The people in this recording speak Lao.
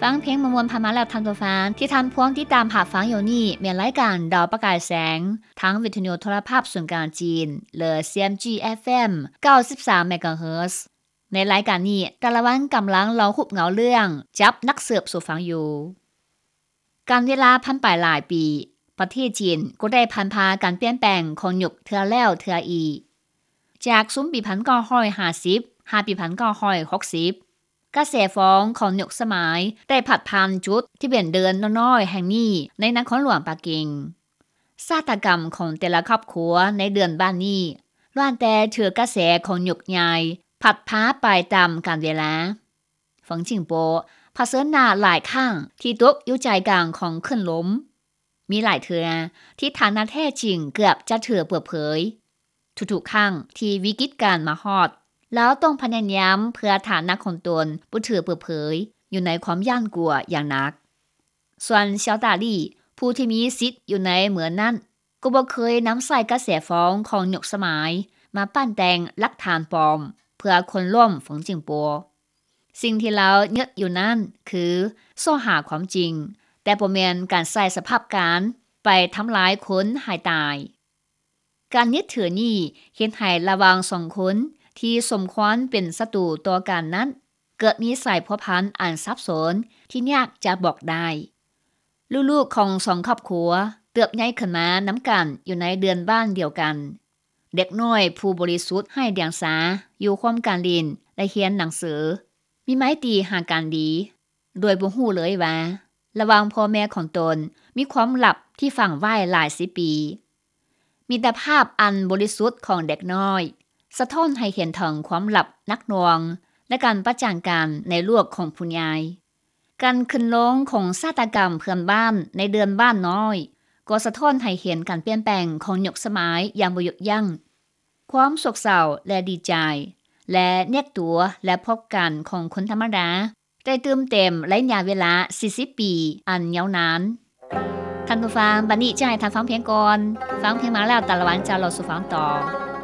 ຟັງເພງມ່ວນໆຜ່ານມາແລ້ວທ່ານຜູ້ຟັງ. ທີ່ທ່ານພວມຕິດຕາມຮັບຟັງຢູ່ນີ້ແມ່ນລາຍການດາວປະກາຍແສງ ທາງວິທະຍຸໂທລະພາບສູນກາງຈີນ ຫຼື CMG FM ເກົ້າສິບສາມ MHz. ໃນລາຍການນີ້ ແຕ່ລະວັນກຳລັງເລົ່າຮູບເງົາເລື່ອງ ຈັບນັກສືບສູ່ຟັງຢູ່. ການເວລາຜ່ານໄປຫຼາຍປີ, ປະເທດຈີນກໍໄດ້ຜ່ານຜ່າການປ່ຽນແປງຂອງຍຸກເທື່ອແລ້ວເທື່ອອີກ. ຈາກຊຸມປີພັນເກົ້າຮ້ອຍຫ້າສິບ ຫາປີພັນເກົ້າຮ້ອຍຫົກສິບ ກະແສຟອງຂອງຍຸກສະໄໝໄດ້ພັດຜ່ານຈຸດທີ່ເປັນເດີ່ນນ້ອຍໆແຫ່ງນີ້ໃນນະຄອນຫຼວງປັກກິ່ງ. ຊາຕາກຳຂອງແຕ່ລະຄອບຄົວໃນເດືອນບ້ານນີ້ ລ້ວນແຕ່ຖືກກະແສຂອງຍຸກໃຫຍ່ພັດພາໄປຕາມການເວລາ. ເຟິງຈິງໂປະ ຜະເຊີນໜ້າຫຼາຍຄັ້ງທີ່ຕົກຢູ່ໃຈກາງຂອງຄື້ນລົມ. ມີຫຼາຍເທື່ອທີ່ຖານະແທ້ຈິງເກືອບຈະຖືກເປີດເຜີຍ. ທຸກໆຄັ້ງທີ່ວິກິດການມາຮອດ, ລາວຕ້ອງພະຍາຍາມເພື່ອຖານະຂອງຕົນບໍ່ຖືກເປີດເຜີຍ ຢູ່ໃນຄວາມຢ້ານກົວຢ່າງໜັກ. ສ່ວນຊຽວຕາລີ ຜູ້ທີ່ມີສິດຢູ່ໃນເມືອງນັ້ນ ກໍບໍ່ເຄີຍນຳໃຊ້ກະແສຟອງຂອງຍຸກສະໄໝມາປັ້ນແຕ່ງຫຼັກຖານປອມເພື່ອໂຄ່ນລົ້ມເຟິງຈິງໂປະ. ສິ່ງທີ່ລາວຍຶດຢູ່ນັ້ນຄືຊອກຫາຄວາມຈິງ, ແຕ່ບໍ່ແມ່ນການໃຊ້ສະພາບການໄປທຳລາຍຄົນໃຫ້ຕາຍ. ການຍຶດຖືນີ້ເຮັດໃຫ້ລະຫວ່າງສອງຄົນທີ່ສົມຄວນເປັນສັດຕູຕໍ່ກັນນັ້ນ ເກີດມີສາຍພົວພັນອັນສັບສົນທີ່ຍາກຈະບອກໄດ້. ລູກໆຂອງສອງຄອບຄົວເຕີບໃຫຍ່ຂຶ້ນມານຳກັນຢູ່ໃນເດືອນບ້ານດຽວກັນ. ເດັກນ້ອຍຜູ້ບໍລິສຸດໄຮ້ດຽງສາຢູ່ຮ່ວມກັນຫຼິ້ນ ແລະ ຮຽນໜັງສື, ມີໄມຕີຫາກັນດີ ໂດຍບໍ່ຮູ້ເລີຍວ່າ ລະຫວ່າງພໍ່ແມ່ຂອງຕົນມີຄວາມລັບທີ່ຝັງໄວ້ຫຼາຍສິບປີ. ມິດຕະພາບອັນບໍລິສຸດຂອງເດັກນ້ອຍ ສະທ້ອນໃຫ້ເຫັນເຖິງຄວາມລັບໜັກໜ່ວງ ແລະ ການປະຈັນກັນໃນໂລກຂອງຜູ້ໃຫຍ່. ການຂຶ້ນລົງຂອງຊາຕາກຳເພື່ອນບ້ານໃນເດືອນບ້ານນ້ອຍ ກໍສະທ້ອນໃຫ້ເຫັນການປ່ຽນແປງຂອງຍຸກສະໄໝຢ່າງບໍ່ຢຸດຢັ້ງ. ຄວາມໂສກເສົ້າ ແລະ ດີໃຈ ແລະ ແຍກຕົວ ແລະ ພົບກັນຂອງຄົນທຳມະດາ ໄດ້ຕື່ມເຕັມໄລຍະເວລາສີ່ສິບປີອັນຍາວນານ. ທ່ານຜູ້ຟັງ, ບັດນີ້ຈະໃຫ້ທ່ານຟັງເພງກ່ອນ. ຟັງເພງມາແລ້ວ ຕາລະວັນຈະເລົ່າສູ່ຟັງຕໍ່.